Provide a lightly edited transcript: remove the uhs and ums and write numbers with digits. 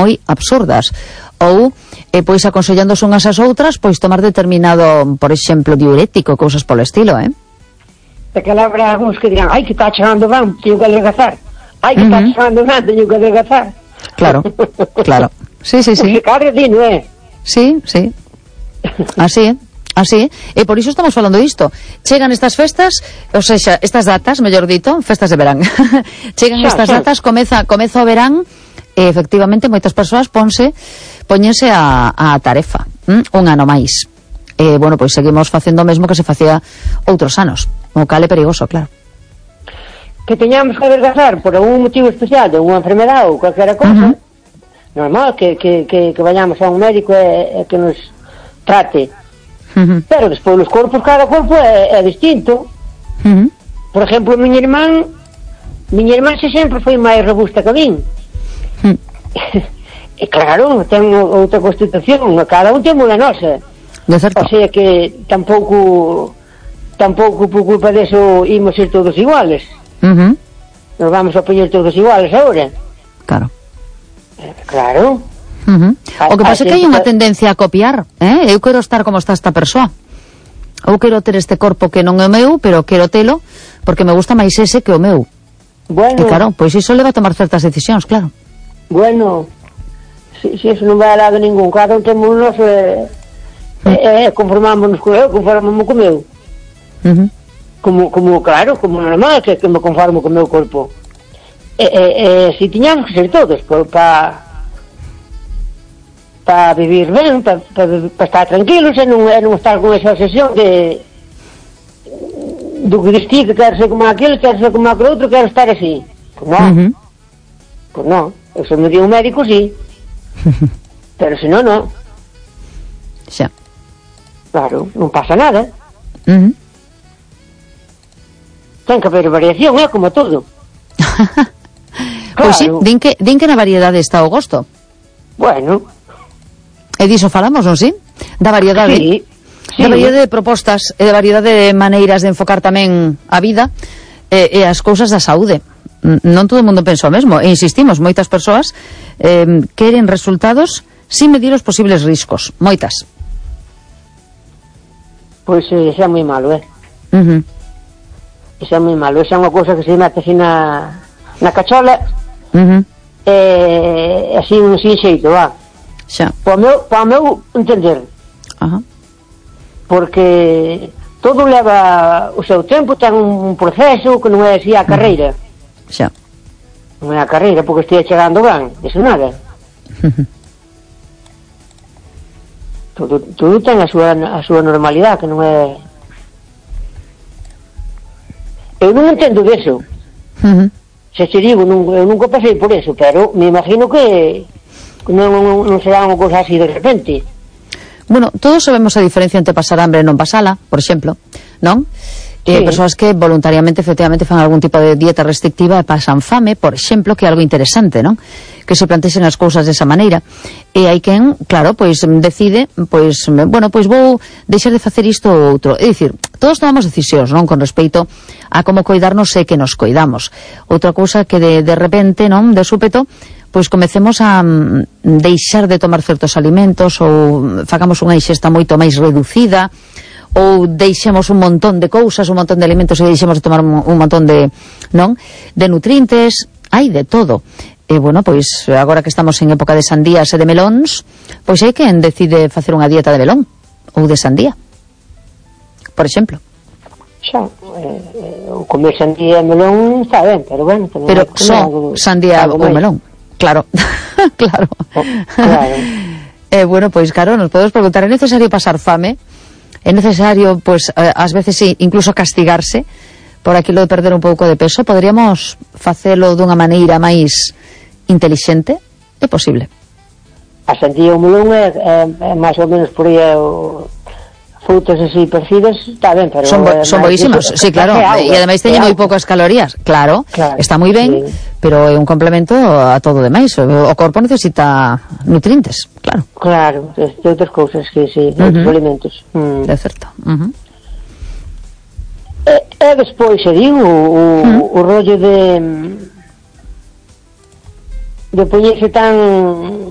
moi absurdas. Ou, pois, aconsellándose unhas ás outras, pois, tomar determinado, por exemplo, diurético, cousas polo estilo, Porque habrá algúns que dirán, ai, que está chegando ben, teño que adelgazar. Ai, que está chegando ben, teño que adelgazar. Claro, claro. Sí. Pues cada día, non é? Sí. Así é. E por iso estamos falando disto. Chegan estas festas, ou seja, estas datas, mellor dito, festas de verán. Chegan estas datas, comeza o verán, e efectivamente moitas persoas póñense a tarefa, un ano máis. Bueno, pois seguimos facendo o mesmo que se facía outros anos, o cal é perigoso, claro. Que teñamos que adelgazar por algún motivo especial, de unha enfermedade ou calquera cousa, normal que vayamos a un médico e que nos trate. Pero despois os corpos, cada corpo é distinto. Por exemplo, miña irmán se sempre foi máis robusta que a min. E claro, ten outra constitución, cada un temos a nosa. O sea que tampouco por culpa deso imos ser todos iguales. Nos vamos a poñer todos iguales agora. Claro. O que pasa é que hai unha tendencia a copiar, eu quero estar como está esta persoa, ou quero ter este corpo que non é o meu, pero quero telo porque me gusta máis ese que o meu. E claro, pois iso leva a tomar certas decisións, claro. Bueno, si eso non vai a lado ningún, cada un temos o noso conformámonos co eu, conformámonos co meu. Como claro, como normal que me conformo co meu corpo. Si tiñamos que ser todos para vivir ben, para estar tranquilos e non estar con esa obsesión do que distí, que quero ser como aquel, quero ser como aquel outro, quero estar así. Pues non, eso me dio un médico, sí. Pero se non, non. Xa. Claro, non pasa nada. Ten que haber variación, como todo. Pois sí, din que na variedade está o gosto. Bueno. E diso falamos, non si? Da variedade. Sí. Da variedade de propostas e da variedade de maneiras de enfocar tamén a vida e as cousas da saúde. Non todo o mundo pensa o mesmo. E insistimos, moitas persoas queren resultados sin medir os posibles riscos. Moitas. Pois xa é moi malo, Xa é moi malo. Xa é unha cousa que se mete así na cachola así sin xeito, xa. Para o meu entender. Porque todo leva o seu tempo, ten un proceso que non é así a carreira. Xa. Non é a carreira porque estea chegando ben, iso nada. Todo ten a súa normalidade, que non é... Eu non entendo disso. Se te digo, eu nunca pasei por eso, pero me imagino que non será unha cosa así de repente. Bueno, todos sabemos a diferencia entre pasar hambre e non pasala, por exemplo, non? Persoas que voluntariamente, efectivamente, fan algún tipo de dieta restrictiva e pasan fame, por exemplo, que é algo interesante, non? Que se plantexen as cousas desa maneira. E hai quen, claro, pois decide, pois, bueno, pois vou deixar de facer isto ou outro. É dicir, todos tomamos decisións, non? Con respecto a como coidarnos e que nos coidamos. Outra cousa que de repente, non? De súpeto, pois comecemos a deixar de tomar certos alimentos ou facamos unha ingesta moito máis reducida, ou deixemos un montón de cousas, un montón de alimentos e deixemos de tomar un montón de, non? De nutrientes, hai de todo. E, bueno, pois, agora que estamos en época de sandías e de melóns, pois hai quen decide facer unha dieta de melón ou de sandía, por exemplo. Xa, o comer sandía e melón está ben, pero bueno... Pero só sandía ou melón, claro. Claro. Bueno, pois, claro, nos podemos preguntar, é necesario pasar fame? É necesario, pois, ás veces sí, incluso castigarse por aquilo de perder un pouco de peso? Poderíamos facelo dunha maneira máis intelixente? É posible. A sandía e o melón é máis ou menos por aí frutas así parecidas, está ben, pero... Son boísimos, sí, claro, e ademais teñen moi poucas calorías, claro, está moi ben, pero é un complemento a todo demais, o corpo necesita nutrientes, claro. Claro, de outras cousas que sí, de outros alimentos. É certo. E despois, se digo, o rollo de poñerse tan